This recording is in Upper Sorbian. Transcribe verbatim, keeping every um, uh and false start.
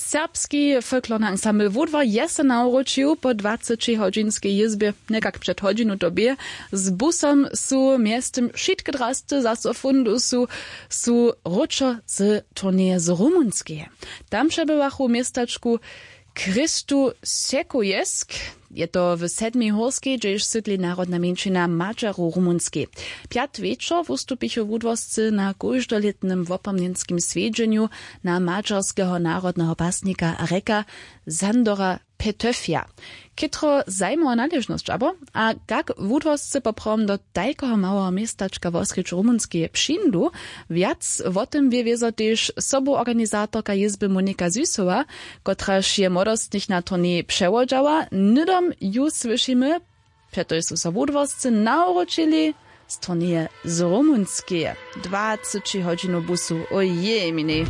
Serbski folklorny ansambl Wudwar je so nawróćił po dwacećihodźinskej jězbje, někak před hodźinu to bě. Z busom su mjeztym wšitke drasty zaso fundusu su wróćo z turneje z Rumunskeje. Tam přebywachu w městačku Christu Secuiesc. Je to w sedmej hórskej, hdźež sydli narodna mjeńšina Madźarow w Rumunskej. Pjatk wječor wustupichu wudworscy na kóždolětnym wopomnjenskim swjedźenju na madźarskeho narodneho pasnika a rjeka Sandora Petöfja. Chětro zajimowa naležnosć abo? A kak wudworscy poprawom do tajkeho małeho městačka wosrjedź Rumunskeje přińdu? Wjac wo tym wězo tež sobuorganizatorka jězby Monika Süsowa, kotraž je młodostnych na turneji přewodźała. Hnydom ju słyšimy. Přetož su so wudworscy nawróćili z turneje z Rumunskeje. Dwaceći hodźinow busu, ojej minej.